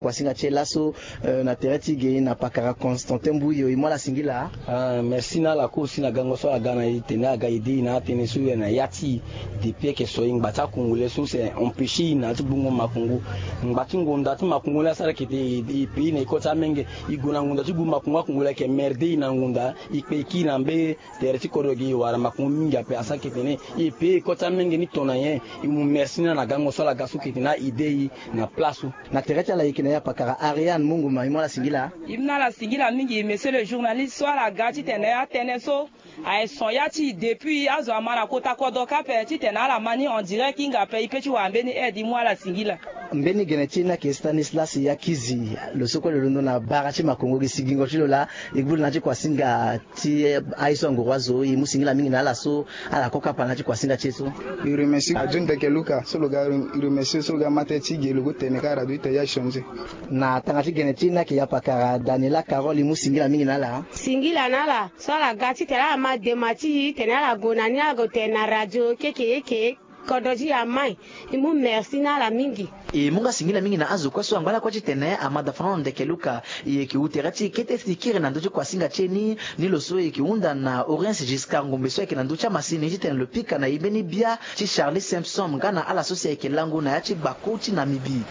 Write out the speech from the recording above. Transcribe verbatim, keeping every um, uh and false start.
Kuasinga ti e laso, eh, na tere ti ge na pakara Constantin Mbuyo, e mu ala singila. Ah, merci na ala kue aussi na gango so ala ga na e tene aga e de e na atënë so e na ya ti e. Depuis ayeke so e ngba ti akongole so c'est empêcher e na ya ti gbungo makongo. Ngba ti ngonda ti makongo ni asara ayeke te e, e pays na e kota amenge. E gue na ngonda ti gbu makongo akongole ayeke merde e na ngonda. E kpe e kiri na mbeni tere ti kodro ge e wara makongo mingi ape asara ayeke tene e pays e kota amenge ni to na nyen. E mu merci na ala na gango so ala ga so ayeke tene a e de e na place so. Na tere ti ala e yeke na e apakara Ariane Munguma, e mu ala singila. E mu na ala singila mingi monsieur le journaliste so ala ga titene atënë so aye son ya ti e depuis azo ama na kota kodro ka ape titene ala ma ni en direct hinga ape e pe ti wara mbeni aide, e mu ala singila. Mbeni gene ti e ni ayeke Stanislas Yakizi, lo so kue lo londo na bara ti makongo gi sigingo ti lo laa. E gbu lo na ya ti kuasinga ti aye so anguru azo, e mu singila mingi na ala so ala kokapa na ya ti kuasinga ti e so. E remercie Radio Ndeke Luka so lo ga, e remercie so lo ga ma tënë ti ge lo gue tene kâ radio ti tene ya e changer. Na tanga ti gene ti e ni ayeke yapakara Daniela Carole, e mu singila mingi na ala. Singila na ala so ala ga titene ala ma dema ti e tene ala gue na ni ala gue tene na radio keke eke. Kodro ti e ama e. E mu merci na ala mingi. E mu nga singila mingi na azo kue so angba lakue titene amada Fernando Ndeke Luka. E yeke hu tere ti e kete si e kiri na ndö ti kuasinga ti e ni. Ni lo so e yeke hunda na Orens Giscard Ngombe so ayeke na ndö ti amasini titene lo pika na e mbeni bia ti Charlie Simpson nga na ala so si ayeke lango na ya ti gbaku ti Namibie.